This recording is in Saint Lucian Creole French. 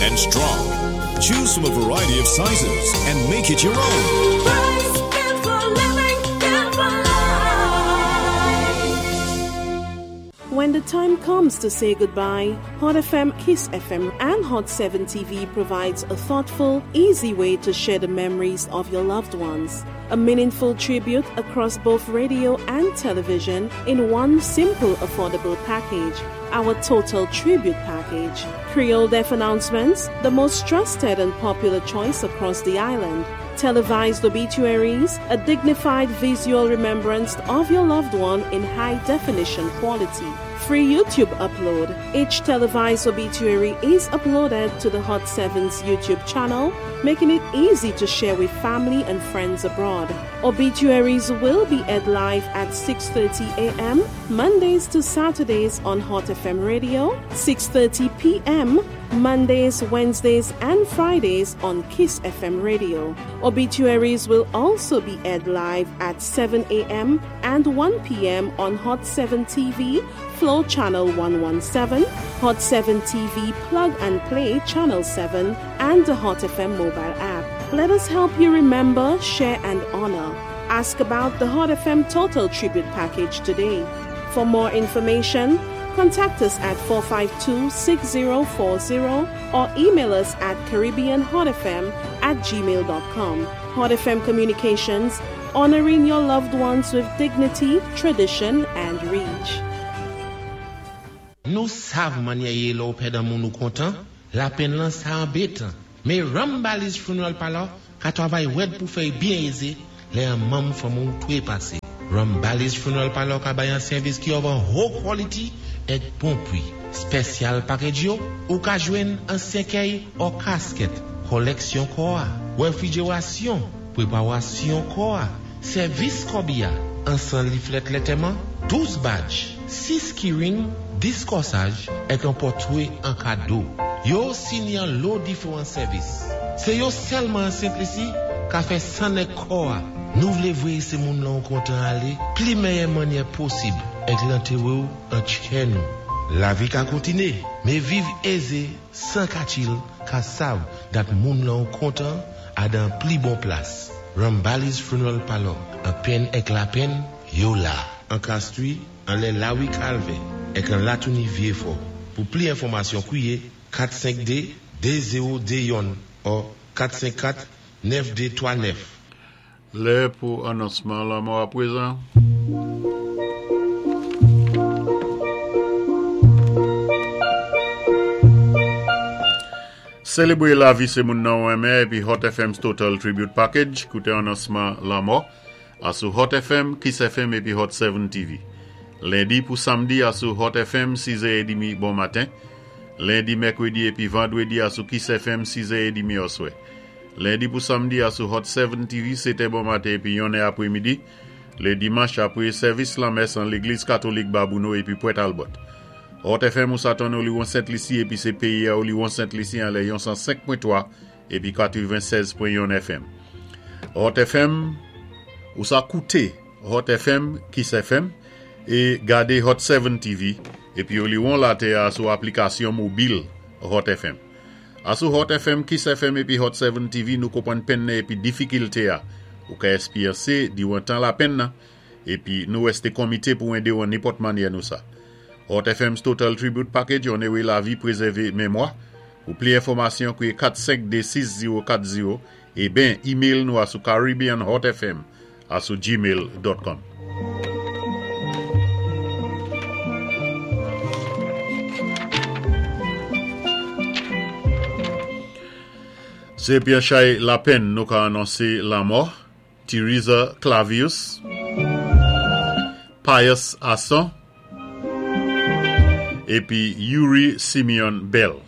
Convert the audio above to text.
and strong. Choose from a variety of sizes and make it your own. Price, built for living, built for life. When the time comes to say goodbye, Hot FM, Kiss FM, and Hot 7 TV provides a thoughtful, easy way to share the memories of your loved ones. A meaningful tribute across both radio and television in one simple, affordable package. Our Total Tribute Package. Creole Deaf announcements, the most trusted and popular choice across the island. Televised obituaries, a dignified visual remembrance of your loved one in high definition quality. Free YouTube upload. Each televised obituary is uploaded to the Hot 7's YouTube channel, making it easy to share with family and friends abroad. Obituaries will be aired live at 6:30 a.m. Mondays to Saturdays on Hot FM Radio, 6:30 p.m. Mondays, Wednesdays, and Fridays on Kiss FM Radio. Obituaries will also be aired live at 7 a.m. and 1 p.m. on Hot 7 TV, Flow Channel 117, Hot 7 TV Plug and Play Channel 7, and the Hot FM mobile app. Let us help you remember, share, and honor. Ask about the Hot FM Total Tribute Package today. For more information, contact us at 452 6040 or email us at CaribbeanHotFM at gmail.com. Hot FM Communications, honoring your loved ones with dignity, tradition, and reach. Nou sav mannyè yé lè-w pèd an moun ou kontan, lapenn lan sa anbétan. Mé Rambali's Funeral Parlor ka twavay wèd pou fè-y byen ézé lè an manm fanmi-w twé pasé. Rambali's Funeral Parlor ka bay an sèvis ki òv an ho quality èk bon pwi. Spèsyal package yo, ou ka jwenn an sèkèy ò kaskèt, kòlèksyon kò-a, wèfrijerasyon, pwépawasyon kò-a, sèvis kòbi-a, ansan liflèt lètèman, 12 badge, 6 keyring, 10 kòsaj, èk an pòtwé an kado. Yo osi ni an lo diféwan sèvis. Sé yo sèlman an Sent Lisi ka fè sann èk kò-a. Nou vlé voyé sé moun lan ou kontan alé pli mèyè mannyè posib èk lantéwé-w an tchè nou. Lavi ka kontiné, mé viv ézé 104 il ka sav dat moun lan ou kontan a dan pli bon plas. Rambali's Funeral Parlor, an penn èk lapenn, yo la. An Castries, anlè Lawi Kalvè, èk an Latouni Vyefò. Pou pli enfòmasyon kwiye 452 2021 ò 454 9239. Lè pou anonsman lanmò aprezan. Selebre lavi se moun nan ou renmen epi Hot FM's Total Tribute Package, koute anonsman lanmò a sou Hot FM, Kiss FM epi Hot 7 TV. Lendi pou Samdi a sou Hot FM 6 è edimi bon maten. Lendi, Mèkredi epi Vandredi a sou Kiss FM 6 è edimi oswè. Lendi pou Samdi a sou Hot 7 TV 7 è bon maten epi 1 è apremidi. Le dimanch apre sèvis lanmès an legliz katolik Babouno epi Pwèt Albòt. Hot FM ou sa tann Oliwon Sent Lisi epi se peyi a Oliwon Sent Lisi anlè yon 105.3 epi 96.1 FM. Hot FM ou sa koute Hot FM Kiss FM e gade Hot 7 TV epi Oliwon latè a sou aplikasyon mobil Hot FM. A sou Hot FM, Kiss FM epi Hot 7 TV nou konprann penn nan epi difikilte a ou ka esperyanse diwan tan lapenn nan Epi nou reste konmite pou ede w an nenpòt mannyè nou sa. Hot FM's Total Tribute Package onere lavi prezève memwa. Pou pli enfòmasyon kriye 4 5 2 6 0 4 0 e ben email nou a sou caribbeanhotfm a sou gmail dot com. Se Pierre Chay Lapenn nou ka anonse lanmò. Theresa Clavius, Pius Asson, epi Youri Simeon Bell.